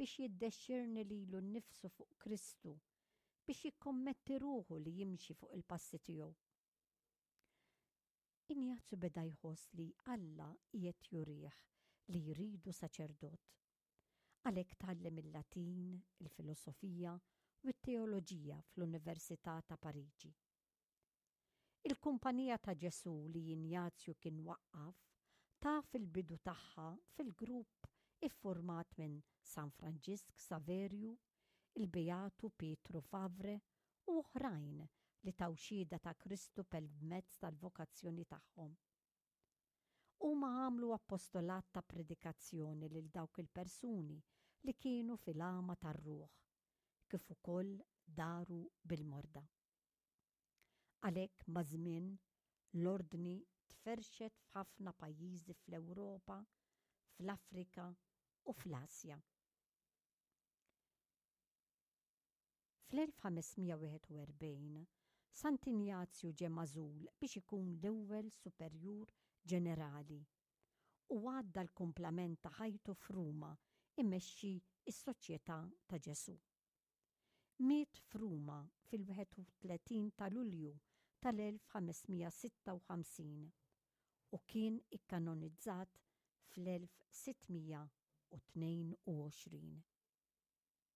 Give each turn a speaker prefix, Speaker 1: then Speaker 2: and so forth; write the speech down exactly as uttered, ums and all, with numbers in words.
Speaker 1: biex jiddexxirni lilu nnifsu fuq Kristu, biex jikkommetti ruħu li jimxi fuq il-passi tiegħu. Injazju beda jħoss li Alla qiegħed jurih li jridu saċerdot. Għalhekk tgħallem il-Latin, il-filosofija u t-teoloġija fl-Università ta' Pariġi. Il-Kumpanija ta' Ġesù li Injazju kien waqqaf taf il-bidu tagħha fil-grupp iffurmat minn San Franġisk Saverju, il-Beatu Pietru Favre u oħrajn li taw xhieda ta' Kristu permezz tal-vokazzjoni tagħhom. Huma għamlu appostolat ta' predikazzjoni lil dawk il-persuni li kienu fil-għama tar-ruħ, kif ukoll daru bil-morda. Għalhekk maż-żmien l-ordni tferxet f'ħafna pajjiżi fl-Ewropa, fl-Afrika u fl-Asja. Fl-elf ħames mija wieħed u erbgħin, Sant'Injazju ġie magħżul biex ikun l-ewwel superjur ġenerali u għadda l-kumplament ta' ħajtu f'Ruma imexxi s-Soċjetà ta' Ġesù. Miet f'Ruma fil-wieħed u tletin ta' Lulju tal-elf ħames mija sitta u ħamsin u kien ikkanonizzat fl-elf sitt mija u tnejn u għoxrin.